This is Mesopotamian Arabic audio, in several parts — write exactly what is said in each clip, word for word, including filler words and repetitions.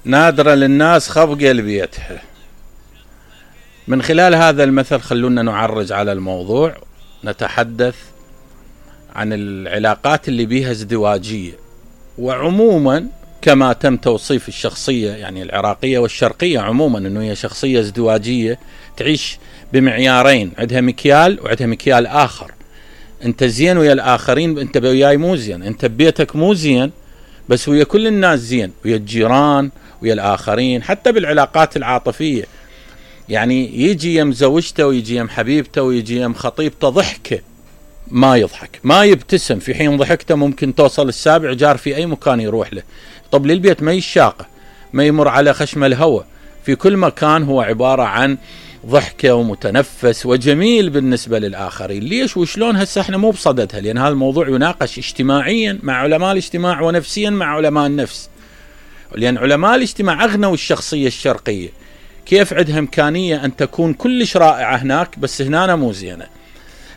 نادرة للناس خف قلبيتها. من خلال هذا المثل خلونا نعرج على الموضوع، نتحدث عن العلاقات اللي بيها ازدواجية، وعموما كما تم توصيف الشخصية يعني العراقية والشرقية عموما انه هي شخصية ازدواجية تعيش بمعيارين، عندها مكيال وعندها مكيال آخر. انت زين ويا الآخرين، انت وياي مو زين، انت ببيتك مو زين بس ويا كل الناس زين، ويا الجيران ويا الآخرين، حتى بالعلاقات العاطفية. يعني يجي يم زوجته ويجي يم حبيبته ويجي يم خطيبته ضحكه ما يضحك، ما يبتسم، في حين ضحكته ممكن توصل السابع جار في أي مكان يروح له. طب للبيت ما يشاقه، ما يمر على خشم الهوى، في كل مكان هو عبارة عن ضحكة ومتنفس وجميل بالنسبة للآخرين. ليش وشلون؟ هسه احنا مو بصددها، لأن هذا الموضوع يناقش اجتماعيا مع علماء الاجتماع ونفسيا مع علماء النفس، لأن علماء الاجتماع أغنوا الشخصية الشرقية كيف عندها إمكانية أن تكون كلش رائعة هناك بس هنا مو زينة.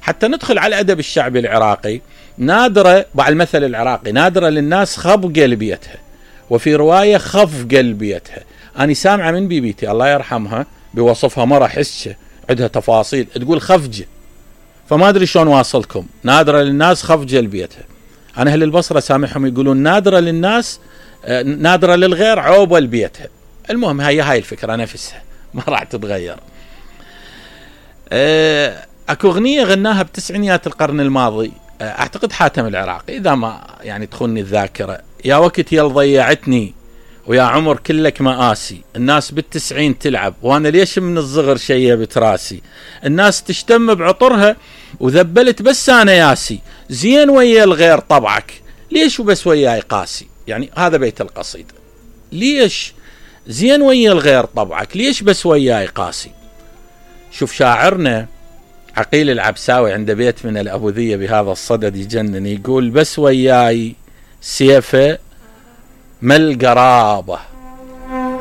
حتى ندخل على الأدب الشعبي العراقي، نادرة بعد المثل العراقي، نادرة للناس خب قلبيتها، وفي رواية خف قلبيتها. أنا سامعة من بيبيتي الله يرحمها بوصفها مرة حسة عندها تفاصيل تقول خفجة، فما أدري شلون واصلكم. نادرة للناس خف قلبيتها. أنا أهل البصرة سامعهم يقولون نادرة للناس نادرة للغير عوبة لبيتها. المهم هي هاي الفكرة نفسها ما راح تتغير. أه اكو اغنية غناها بتسعينيات القرن الماضي، اعتقد حاتم العراقي اذا ما يعني تخوني الذاكرة. يا وقت يل ضيعتني ويا عمر كلك مآسي، الناس بالتسعين تلعب وانا ليش من الصغر شيبت راسي، الناس تشتم بعطرها وذبلت بس انا ياسي، زين ويا الغير طبعك ليش وبس وياي قاسي. يعني هذا بيت القصيدة، ليش زين ويا الغير طبعك ليش بس وياي قاسي. شوف شاعرنا عقيل العبساوي عند بيت من الأبوذية بهذا الصدد يجنن، يقول بس وياي سيفه ما القرابة